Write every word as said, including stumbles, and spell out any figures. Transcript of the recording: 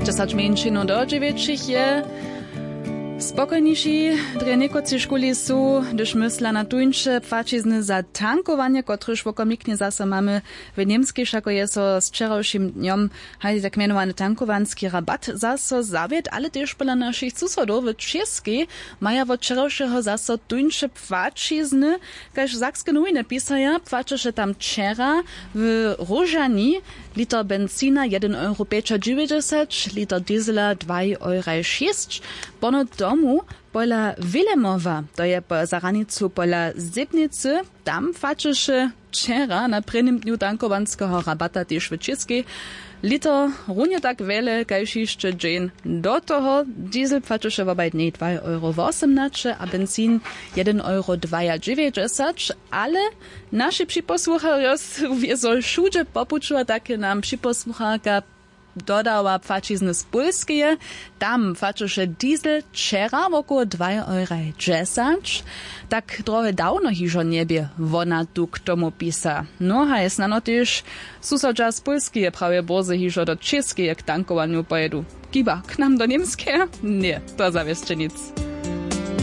Dźesać mjeńšinow do dźewjećich je spokojniši. Drje někotři škuli su, hdyž mysla na tuńše płaćizny za tankowanje, kotrež wokomiknje zaso mamy w němskej, wšako je so z wčerawšim dnjom haj tak mjenowany tankowanski rabat zaso zawět, ale tež pola našich susodow w Čěskej maja wot wčerawšeho zaso tuńše płaćizny. Kaž sakske nowiny pisaja, płaćeše tam wčera w Róžani liter benzina jedyn euro pjećadźewjećdźesać, liter diesela dwaj euraj šěsć. Pono tomu pola Wilemowa, to je po, za hranicu pola Zebnicy, tam płaćeše wčera na prěnim dnju tankowanskeho rabata tež w Čěskej liter runje tak wjele kaž hišće dźeń do toho. Diesel płaćeše wobaj dnjej dwaj euro wosomnaće a benzin jedyn euro dwajadźewjećdźesać. Ale naši připosłucharjo su wězo wšudźe po puću a tak je nam připosłucharka dodała płaćizny z Pólskeje. Tam płaćeše diesel wčera wokoło dwaj euraj dźesać. Tak drohe dawno hižo njebě, wona tu k tomu pisa. No haj snano tež susodźa z Pólskeje prawje bórze hižo do Čěskeje k tankowanju pojědu. Kiba k nam do Němskeje? Ně, to zawěsće nic.